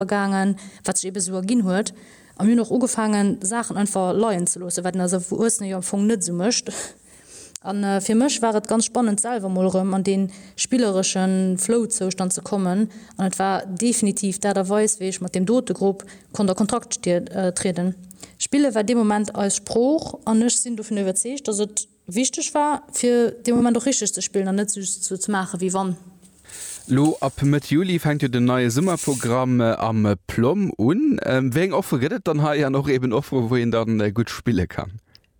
Gaangen, wat sech ebe sou erginn huet. A mir hunn och ugefaangen, Saachen einfach leien ze loossen, wat een als Erwuessene jo am Fong net esou mécht. A fir mech war et ganz spannend, selwer mol erëm an dee spilleresche Flow-Zoustand ze kommen. An et war definitiv d'Aart a Weis, wéi ech mat deem dote Grupp konnt a Kontrakt trieden. Spille war dee Moment eis Sprooch an ech sinn dovun iwwerzeegt, dass et Wichteg war, fir dee Moment och richteg ze spillen an net just sou ze maachen, wéi wann. Lo ab Mëtt Juli fänkt jo den neie Summerprogramm am Plomm un. Wéi eng Offere gëtt et dann hei an och eben Offere wou een dann gutt spille kann?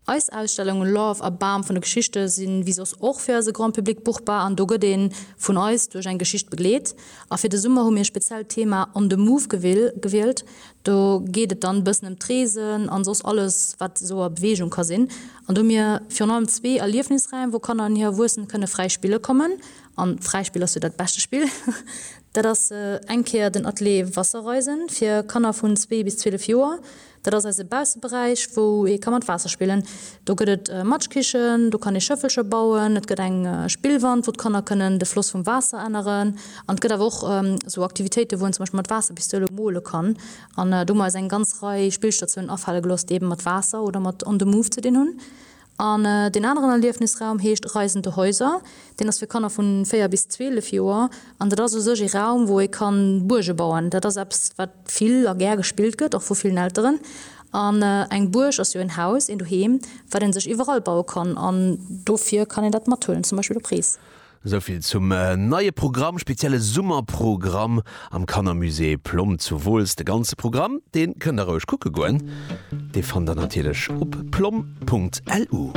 Eis Ausstellungen Love a Bam vun de Geschichte si wéi soss och fir eise Grand Public buchbar an do gëtt ee vun eis duerch eng Geschicht begleet. A fir de Summer hu mir speziell d'Thema On the Move gewielt. Do geet et dann bëssen ëm d'Reesen an soss alles wat esou a Beweegung ka sinn. An do hu mir virun allem zwee Erliefnisräim, wou Kanner an hir Erwuessen kënne fräi spille kommen. An fräi Spill ass jo dat beschte Spill. Dat ass eng Kéier den Atelier Wasserreisen fir Kanner vun zwee bis 12 Joer. Dat ass eise Bausseberäich, wou ee ka mat Waasser spillen. Do gëtt et Matschkichen, do kann ee Schëffelcher bauen, et gëtt eng Spillwand, wou d'Kanner kënnen de Floss vum Waasser änneren. An et gëtt awer och esou Aktivitéiten, wou een zum Beispill mat Waasserpistoule mole kann. An do hu mer eis eng ganz Rei Spillstatiounen afale gelooss, déi eben mat Waasser oder mat On the Move ze dinn hunn. An deen aneren Erliefnisraum heescht Reisende Häuser. Deen ass fir Kanner vun 4 bis 12 Joer. An dat ass u sech ee Raum, wou ee kann Buerge bauen. Dat ass eppes, wat vill a gär gespillt gëtt, och vu villen Elteren. An eng Buerg ass jo en Haus, een Doheem, wat ee sech iwwerall baue kann. An dofir kann een dat mathuelen, zum Beispill op Rees. Souvill zum neie Programm, spezielle Summerprogramm am Kannermusée Plomm zu Wooltz. De ganze Programm, dee kënnt der roueg kucke goen, dee fannt der natierlech op plomm.lu.